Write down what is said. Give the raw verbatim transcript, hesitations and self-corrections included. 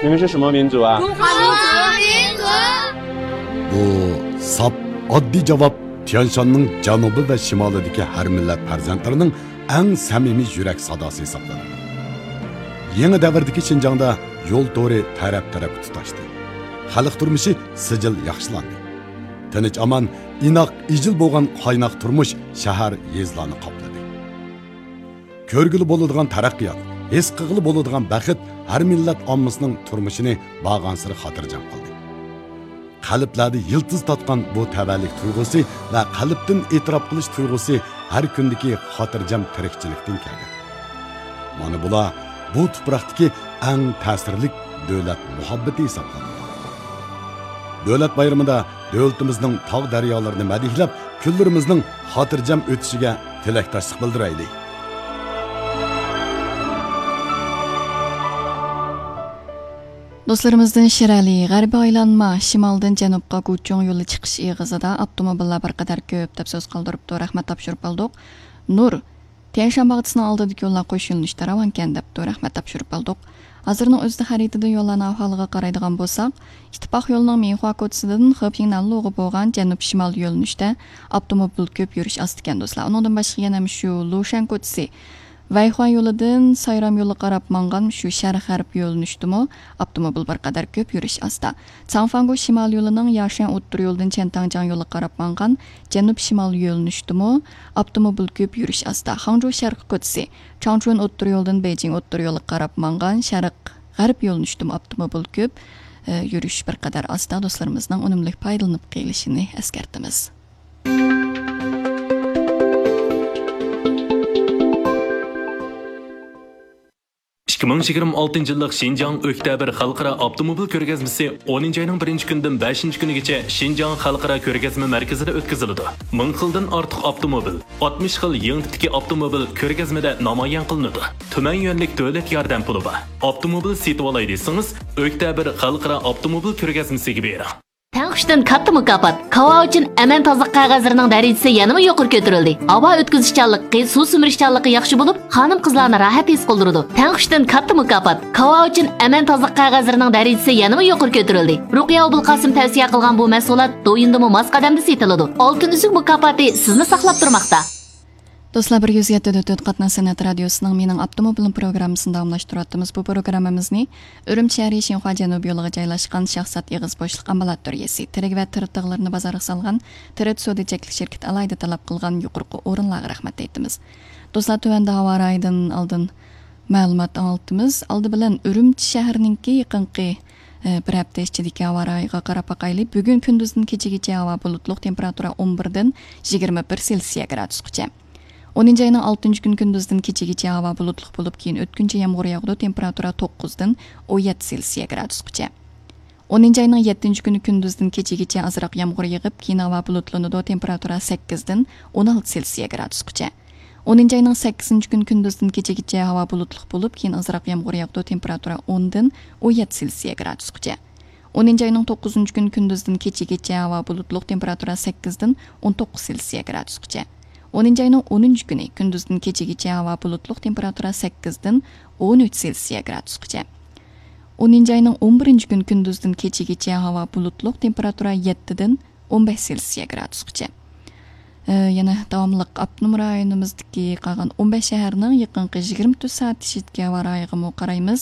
你们是什么民族啊？中华民族。 بۇ ساپ ئاددىي جاۋاب تيەنشاننىڭ جەنۇبى ۋە شىمالىدىكى ھەر مىللەت پەرزەنتلىرىنىڭ ئەڭ سەمىمىي يۈرەك ساداسى ھېسابلىنىدۇ. يېڭى دەۋردىكى شىنجاڭدا يول تورى تەرەپ-تەرەپكە تۇتاشتى. خەلق تۇرمۇشى سىجىل ياخشىلاندى. تىنچ-ئامان، ئىناق، ئىجىل بولغان قايناق تۇرمۇش شەھەر، يېزىلارنى قاپلىدى. كۆرگىلى بولىدىغان تەرەققىيات، ھېس قىلغىلى بولىدىغان بەخت ھەر مىللەت ئاممىسىنىڭ تۇرمۇشىنى بارغانسېرى خاتىرجەم قىلدى. قەلبلەردە يىلتىز تارتقان بۇ تەۋەلىك تۇيغۇسى ۋە قەلبتىن ئېتىراپ قىلىش تۇيغۇسى ھەر كۈندىكى خاتىرجەم تىرىكچىلىكتىن كەلگەن. مانا بۇلار بۇ تۇپراقتىكى ئەڭ تەسىرلىك دۆلەت مۇھەببىتى ھېسابلىنىدۇ. دۆلەت بايرىمىدا دۆلىتىمىزنىڭ تاغ-دەريالىرىنى مەدھىيلەپ، كۈنلىرىمىزنىڭ خاتىرجەم ئۆتۈشىگە تىلەكداشلىق بىلدۈرەيلى. دوستلىرىمىزدىن شىرئەلى، غەربىي ئايلانما، شىمالدىن جەنۇبقا گۇچۇڭ يولى چىقىش ئېغىزىدا ئاپتوموبىللار بىر قەدەر كۆپ، دەپ سۆز قالدۇرۇپتۇ. رەھمەت تاپشۇرۇپ بولدۇق. نۇر، تيەنشان باغچىسىنىڭ ئالدىدىكى يوللار قوش يۆنىلىشتە راۋانكەن، دەپتۇ. رەھمەت تاپشۇرۇپ بولدۇق. ھازىرنىڭ ئۆزىدە خەرىتىدە يوللارنىڭ ئەھۋالىغا قارايدىغان بولساق، ئىتتىپاق يولىنىڭ مىنخۇا كوچىسىدىن خېپىڭنەنلۇغا بولغان جەنۇب شىمال يۆنىلىشتە ئاپتوموبىل كۆپ يۈرۈش ئاستىكەن، دوستلار. ئۇنىڭدىن باشقا يەنە مۇشۇ لۇشەن كوچىسى، ۋەيخۇەن يولىدىن سايرام يولىغا قاراپ ماڭغان شۇ شەرق غەرب يۆنىلىشتىمۇ ئاپتوموبىل بىر قەدەر كۆپ يۈرۈش ئاستا. چاڭفاڭگو شىمال يولىنىڭ ياشەن ئوتتۇرا يولىدىن چيەنتاڭجياڭ يولىغا قاراپ ماڭغان جەنۇب شىمال يۆنىلىشتىمۇ ئاپتوموبىل كۆپ يۈرۈش ئاستا. خاڭجۇ شەرقىي كوچىسى، چاڭچۈەن ئوتتۇرا يولىدىن بېيجىڭ ئوتتۇرا يولىغا قاراپ ماڭغان شەرق غەرب يۆنىلىشتىمۇ ئاپتوموبىل كۆپ، ئە، يۈرۈش بىر قەدەر ئاستا. دوستلىرىمىزنىڭ ئۈنۈملۈك پايدىلىنىپ قېلىشىنى ئەسكەرتىمىز. ئىككى مىڭ يىگىرمە ئالتىنچى يىللىق شىنجاڭ ئۆكتەبىر خەلقئارا ئاپتوموبىل كۆرگەزمىسى ئونىنچى ئاينىڭ بىرىنچى كۈنىدىن بەشىنچى كۈنىگىچە شىنجاڭ خەلقئارا كۆرگەزمە مەركىزىدە ئۆتكۈزۈلىدۇ. مىڭ خىلدىن ئارتۇق ئاپتوموبىل، ئاتمىش خىل يېڭى تىپتىكى ئاپتوموبىل كۆرگەزمىدە نامايان قىلىنىدۇ. تۈمەن يۈەنلىك دۆلەت ياردەم پۇلى بار. ئاپتوموبىل سېتىۋالاي دېسىڭىز، ئۆكتەبىر خەلقئارا ئاپتوموبىل كۆرگەزمىسىگە بېرىڭ. تەڭ كۈچتىن كاتتا مۇكاپات، كاۋاۋىچىن ئەمەن تازىلىق قەغەزلىرىنىڭ دەرىجىسى يەنىمۇ يۇقىرى كۆتۈرۈلدى. ھاۋا ئۆتكۈزۈشچانلىقى، سۇ سۈمۈرۈشچانلىقى ياخشى بولۇپ، خانىم-قىزلارنى راھەت ھېس قىلدۇرىدۇ. تەڭ كۈچتىن كاتتا مۇكاپات، كاۋاۋىچىن ئەمەن تازىلىق قەغەزلىرىنىڭ دەرىجىسى يەنىمۇ يۇقىرى كۆتۈرۈلدى. رۇقىيە ئوبۇلقاسىم تەۋسىيە قىلغان بۇ مەھسۇلات دويىندىمۇ ماس قەدەمدە سېتىلىدۇ. ئالتۇن ئۈزۈك مۇكاپاتى سىزنى ساقلاپ تۇرماقتا. دوستلار، بىر يۈز يەتتە دۆت قاتناش سەنئەت رادىيوسىنىڭ مېنىڭ ئاپتوموبىلىم پروگراممىسىنى داۋاملاشتۇرۇۋاتىمىز. بۇ پروگراممىمىزنى ئۈرۈمچى شەھىرى شىنخۇا جەنۇبىي يولىغا جايلاشقان شاھزات ئېغىز بوشلۇق ئامبالات دۈريىسى، تىرىك ۋە تىرىق تىغلىرىنى بازارغا سالغان تىرىت سودا چەكلىك شىركىتى ئالاھىدە تەلەپ قىلغان يۇقىرىقى ئورۇنلارغا رەھمەت ئېيتىمىز. دوستلار، تۆۋەندە ھاۋا رايىدىن ئالدىن مەلۇمات ئاڭلىتىمىز. ئالدى بىلەن ئۈرۈمچى شەھىرىنىڭكى يېقىنقى، ئە، بىر ھەپتە ئىچىدىكى ھاۋا رايىغا قاراپ باقايلى. بۈگۈن كۈندۈزدىن كېچىگىچە ھاۋا بۇلۇتلۇق، تېمپېراتۇرا ئون بىردىن يىگىرمە بىر سېلسىيە گرادۇسقىچە. ئونىنچى ئاينىڭ ئالتىنچى كۈنى كۈندۈزدىن كېچىگىچە ھاۋا بۇلۇتلۇق بولۇپ، كېيىن ئۆتكۈنچى يامغۇر ياغىدۇ، تېمپېراتۇرا توققۇزدىن ئون يەتتە سېلسىيە گرادۇسقىچە. ئونىنچى ئاينىڭ يەتتىنچى كۈنى كۈندۈزدىن كېچىگىچە ئازراق يامغۇر يېغىپ، كېيىن ھاۋا بۇلۇتلىنىدۇ، تېمپېراتۇرا سەككىزدىن ئون ئالتە سېلسىيە گرادۇسقىچە. ئونىنچى ئاينىڭ سەككىزىنچى كۈنى كۈندۈزدىن كېچىگىچە ھاۋا بۇلۇتلۇق بولۇپ، كېيىن ئازراق يامغۇر ياغىدۇ، تېمپېراتۇرا ئوندىن ئون يەتتە سېلسىيە گرادۇسقىچە. ئونىنچى ئاينىڭ توققۇزىنچى كۈنى كۈندۈزدىن كېچىگىچە ھاۋا بۇلۇتلۇق، تېمپېراتۇرا سەككىزدىن ئون توققۇز سېلسىيە گرادۇسقىچە. ئونىنچى ئاينىڭ ئونىنچى كۈنى كۈندۈزدىن كېچىگىچە ھاۋا بۇلۇتلۇق، تېمپېراتۇرا سەككىزدىن ئون ئۈچ سېلسىيە گرادۇسقىچە. ئونىنچى ئاينىڭ ئون بىرىنچى كۈنى كۈندۈزدىن كېچىگىچە ھاۋا بۇلۇتلۇق، تېمپېراتۇرا يەتتىدىن ئون بەش سېلسىيە گرادۇسقىچە. ئە، يەنە داۋاملىق ئاپتونوم رايونىمىزدىكى قالغان ئون بەش شەھەرنىڭ يېقىنقى يىگىرمە تۆت سائەت ئىچىدىكى ھاۋا رايىغىمۇ قارايمىز.